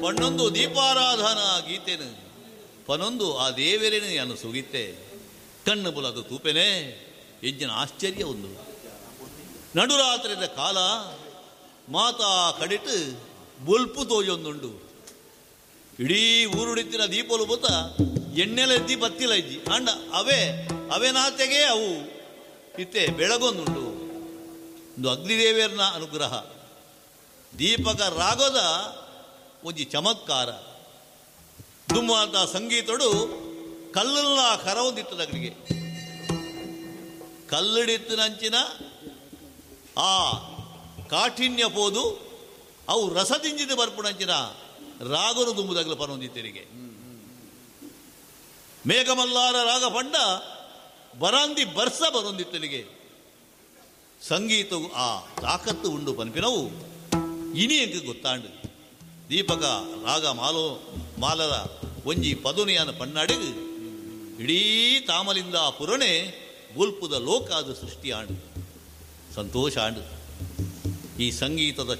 ಪಣ್ಣೊಂದು ದೀಪಾರಾಧನಾ ಗೀತೆನು ಪನೊಂದು ಆ ದೇವರೇನು ಯಾನು ಸುಗಿತ್ತೆ. ಕಣ್ಣು ಬುಲದು ತೂಪೆನೆ ಎಂಚಿನ ಆಶ್ಚರ್ಯ ಉಂದು. ನಡುರಾತ್ರಿದ ಕಾಲ ಮಾತಾ ಕಡಿಟ್ ಬೊಲ್ಪು ತೋಜೊಂದುಂಡು. ಇಡೀ ಊರುಡಿತ್ತಿನ ದೀಪಲು ಬೊತ್ತ ಎಣ್ಣೆಲೆದ್ದಿ ಬತ್ತಿಲ ಇಜ್ಜಿ ಅಂಡ ಅವೇ ಅವೇನಾತೆಗೆ ಅವು ಇತ್ತೆ ಬೆಳಗೊಂದುಂಡು. ಒಂದು ಅಗ್ನಿದೇವಿಯರ್ನ ಅನುಗ್ರಹ, ದೀಪಕ ರಾಗದ ಒಂಜಿ ಚಮತ್ಕಾರ. ದುಮ್ಮಾತ ಸಂಗೀತಡು ಕಲ್ಲುಲ್ಲ ಕರವೊಂದಿತ್ತದಗಳಿಗೆ ಕಲ್ಲಡಿತ್ತಿನಂಚಿನ ಆ ಕಾಠಿಣ್ಯ ಪೋದು ಅವು ರಸದಿಂಜಿದ ಬರ್ಪುಣಂಚಿನ ರಾಗನು ದುಂಬುದಗಲು ಪನೊಂದಿತ್ತೆರಿಗೆ. ಮೇಘಮಲ್ಲಾರ ರಾಗ ಪಂಡ ಬರಾಂದಿ ಬರ್ಸ ಬರೊಂದಿತ್ತಲಿಗೆ. ಸಂಗೀತವು ಆ ತಾಕತ್ತು ಉಂಡು ಪನ್ಪಿನವು ಇನಿ ಎಂಕ್ ಗೊತ್ತಾಂಡು. ದೀಪಕ ರಾಗ ಮಾಲೋ ಮಾಲರ ಒಂಜಿ ಪದುನಿಯನ ಪನ್ನಾಡಿಗ್ ಇಡೀ ತಾಮಲಿಂದ ಪುರಣೆ ಬೊಲ್ಪುದ ಲೋಕಾದ ಸೃಷ್ಟಿಯಾಂಡು. ಸಂತೋಷ ಆಂಡು. ಈ ಸಂಗೀತದ